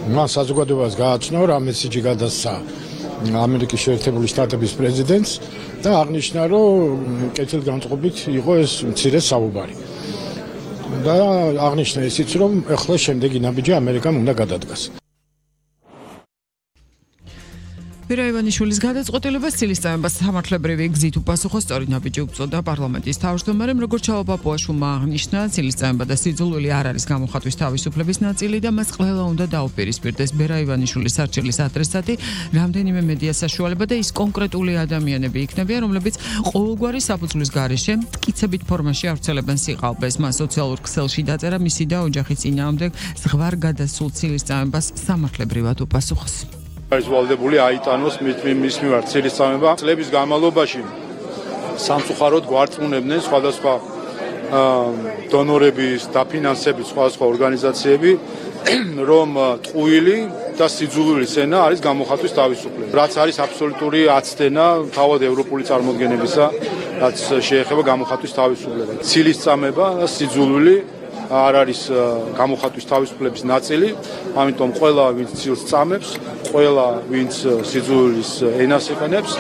მან საზოგადოებას გააცნო, რა მესიჯი გადასცა ამერიკის შეერთებული შტატების პრეზიდენტს და აღნიშნა, რომ კეთილგანწყობით იყო ეს მცირე საუბარი. და აღნიშნა ისიც, რომ ახლა შემდეგი ნაბიჯი ამერიკამ უნდა გადადგას. ვერა ივანიშვილის გადაწყვეტილებას ცილისწამებას სამართლებრივი გზით უპასუხო სწორი ნაბიჯი უწოდა პარლამენტის თავმჯდომარემ, როგორც ჩავა პაპუაშვილმა აღნიშნა, ცილისწამება და სიძულვილი არ არის გამოხატვის თავისუფლების ნაწილი და მას ყველა უნდა დაუპირისპირდეს. ვერა ივანიშვილის არჩევის ადრესატი რამდენიმე მედია საშუალება და ის კონკრეტული ადამიანები იქნებიან, რომლებიც ყოველგვარი საფუძვლის გარეშე მტკიცებით ფორმაში ავრცელებენ სიყალბეს. მას სოციალურ ქსელში დაწერა მისი და ოჯახის წინააღმდეგ ზღვარ გადასულ ცილისწამებას სამართლებრივად უპასუხოს. არის ვალდებული აიტანოს მის მიმართ ცილისწამება. წლების განმავლობაში სამწუხაროდ გვარწმუნებდნენ სხვადასხვა დონორების, დაფინანსებით სხვადასხვა ორგანიზაციები, რომ ტყუილი და სიძულვილი სენა არის გამოხატვის თავისუფლება. რაც არის აბსოლუტური აცდენა თავად ევროპული წარმოდგენებისა, რაც შეეხება გამოხატვის თავისუფლებას. ცილისწამება და სიძულვილი არ არის გამოხატვის თავისუფლების ნაწილი, ამიტომ ყველა ვინც ცილს წამებს, ყველა ვინც სიძულვილის ენას იყენებს,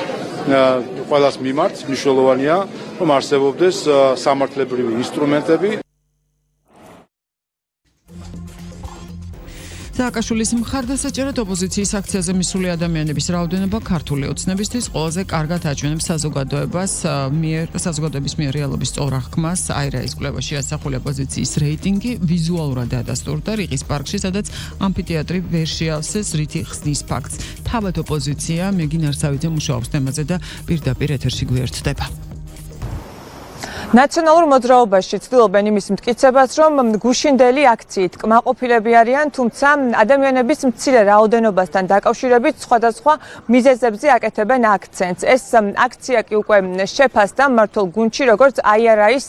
ყველას მიმართ მნიშვნელოვანია, რომ არსებობდეს სამართლებრივი ინსტრუმენტები. სააკაშვილის მხარდასაჭერად ოპოზიციის აქციაზე მისული ადამიანების რაოდენობა ქართული ოცნებისთვის ყველაზე კარგად აჩვენებს საზოგადოების მიერ რეალობის სწორ აღქმას. აირაის კვლევაში ასახული ოპოზიციის რეიტინგი ვიზუალურად დადასტურდა რიყის პარკში, სადაც ამფითეატრი ვერ შეავსეს რითი ხსნის ფაქტს. თავად ოპოზიცია მეგინ არსავიძე მუშაობს თემაზე და პირდაპირ ეთერში გვერდდება. ნაციონალურ მოძრაობაში ცდილობენ იმის მტკიცებას, რომ გუშინდელი აქციით კმაყოფილები არიან, თუმცა ადამიანების მცირე რაოდენობასთან დაკავშირებით სხვადასხვა მიზეზებზე აკეთებენ აქცენტს. ეს აქცია კი უკვე შეფასდა მმართველ გუნდში, როგორც IRA-ის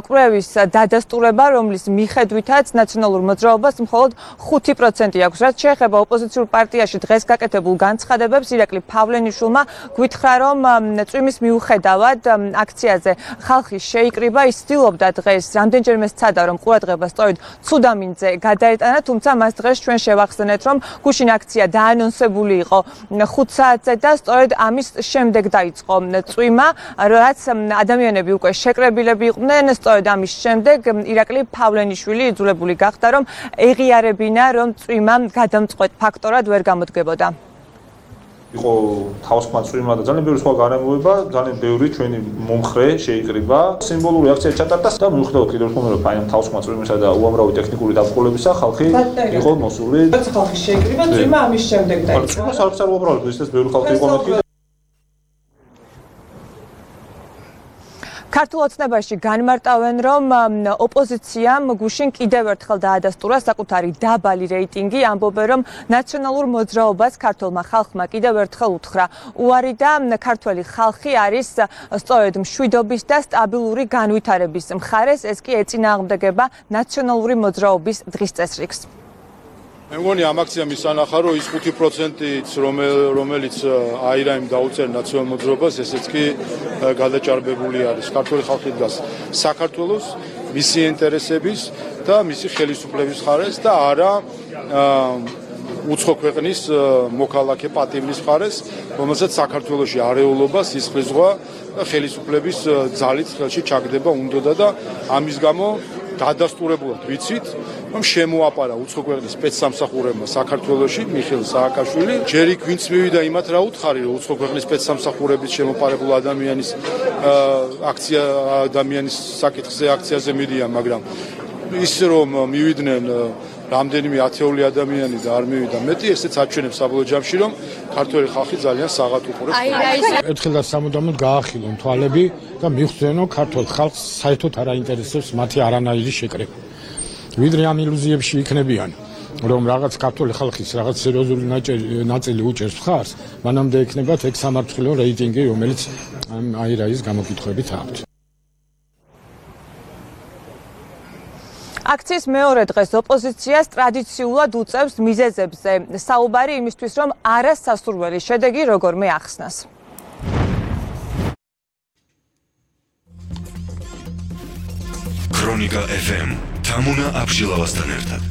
კვლევის დადასტურება, რომლის მიხედვითაც ნაციონალურ მოძრაობას მხოლოდ 5% აქვს. რაც შეეხება ოპოზიციურ პარტიაში დღეს გაკეთებულ განცხადებებს, ირაკლი ფავლენიშვილმა გვითხრა, რომ წვიმის მიუხედავად აქციაზე ხალხი შეიკრიბა, ის ცდილობდა დღეს რამდენჯერმე სცადა, რომ ყურადღება სწორედ ცუდამინძე გადაეტანა, თუმცა მას დღეს ჩვენ შევახსენეთ, რომ გუშინ აქცია დაანონსებული იყო 5 საათზე და სწორედ ამის შემდეგ დაიწყო წვიმა, რაც ადამიანები უკვე შეკრებილები იყვნენ. სწორედ ამის შემდეგ ირაკლი ფავლენიშვილი იძულებული გახდა, რომ ეღიარებინა, რომ წვიმა გადამწყვეტ ფაქტორად ვერ გამოდგებოდა. იყო თავსხმა წვიმა და ძალიან ბევრი სხვა გარემოება, ძალიან ბევრი ჩვენი მომხრე შეიკრიბა. სიმბოლური აქცია ჩატარდა და მიუხედავად კიდევ ერთხელ რომ აი ამ თავსხმა წვიმისა და უამრავი ტექნიკური დაბრკოლებისა ხალხი იყო მოსული. რაც ხალხი შეიკრიბა, წვიმა ამის შემდეგ დაიწყო. წვიმას არ უბრალოდ ისეთ ბევრი ხალხი იყო მეთქი. ქართულ ოცნებაში განმარტავენ, რომ ოპოზიციამ გუშინ კიდევ ერთხელ დაადასტურა საკუთარი დაბალი რეიტინგი, ამბობენ, რომ ნაციონალურ მოძრაობას ქართულმა ხალხმა კიდევ ერთხელ უთხრა უარი და ქართველი ხალხი არის სწორედ მშვიდობის და სტაბილური განვითარების მხარეს, ეს კი ეწინააღმდეგება ნაციონალური მოძრაობის დღის წესრიგს. მე მგონი ამ აქციამ ისანახა, რომ ის 5%-იც, რომელიც აირაიმ დაუწერა ნაციონალურ მოძრაობას, ესეც კი გადაჭარბებული არის. ქართული ხალხი დგას საქართველოს, მისი ინტერესების და მისი ხელისუფლების მხარეს და არა უცხო ქვეყნის მოქალაქე პატივნის მხარეს, რომელსაც საქართველოში არეულობა, სისხლისღვრა და ხელისუფლების ძალით ხელში ჩაგდება უნდოდა და ამის გამო დადასტურებულად ვიცით, რომ შემოაპარა უცხო ქვეყნის სპეცსამსახურებმა საქართველოში მიხეილ სააკაშვილი. ჯერ იქ ვინც მივიდა იმათ რა უთხარი, რომ უცხო ქვეყნის სპეცსამსახურების შემოპარებულ ადამიანის საკითხზე აქციაზე მიდიან, მაგრამ ის რომ მივიდნენ რამდენიმე ათეული ადამიანი და არ მივიდა მეტი, ესეც აჩვენებს საბოლოო ჯამში, რომ ქართველი ხალხი ძალიან საღად უყურებს. ერთხელ და სამუდამოდ გაახილონ თვალები და მიხვდნენ, რომ ქართულ ხალხს საერთოდ არ აინტერესებს მათი არანაირი შეკრება. ვიდრე ამ ილუზიებში იქნებიან, რომ რაღაც ქართული ხალხის რაღაც სერიოზული ნაწილი უჭერს მხარს, მანამდე ექნებათ ეგ სამართლო რეიტინგი, რომელიც აირაის გამოკითხვებით აქვთ. აქციის მეორე დღეს ოპოზიციას ტრადიციულად უწევს მიზეზებზე საუბარი იმისთვის, რომ არასასურველი შედეგი როგორმე ახსნას. ქრონიკა FM თამუნა აბშილავასთან ერთად.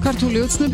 ქართული ოცნების